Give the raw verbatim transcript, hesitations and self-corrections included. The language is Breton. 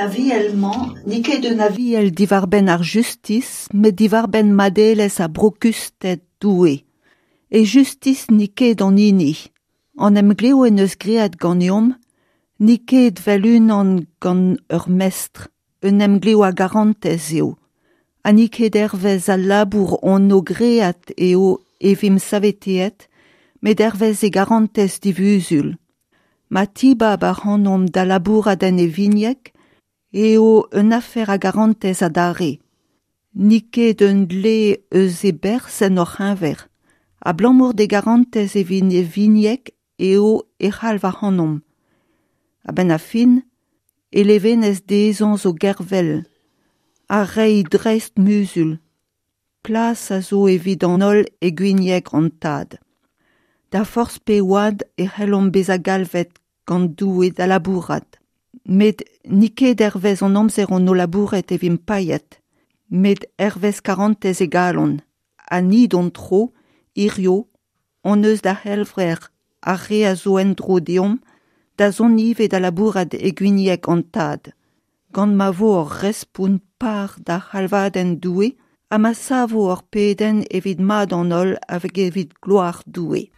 Aviel-mañ n'eo ket un aviel diwar-benn ar justis, met diwar-benn madelezh ha brokusted Doue. E justis n'eo ket hon hini. An emglev en deus graet ganeomp n'eo ket evel unan gant ur mestr, un emglev a garantez eo. Ha n'eo ket hervez al labour hon o graet eo e vimp saveteet, met hervez e garantez divuzul. Ma tibab ac'hanomp da labourat en e vigneg eo un afer a garantez adarre. N'eo ket un dle eus e berzh en hor c'heñver. Abalamour d'e garantez evit e vigneg eo e c'halv ac'hanomp. A-benn ar fin, e levenez dezhañ zo gervel, ha reiñ dreist muzul. Plas a zo evit an holl e gwinieg an tad. Da forzh pe oad e c'hellomp bezañ galvet gant Doue da labourat. Met n'eo ket hervez an amzer hon o labouret e vimp paeet, met hervez karantez e galon. Ha ni d'hon tro, hirio, hon eus da c'helver ar re a zo en-dro deomp, da zont ivez da labourat e gwinieg an tad. Gant ma vo hor respont par da c'halvadenn Doue, ha ma savo hor pedenn evit mad an holl hag evit gloar Doue.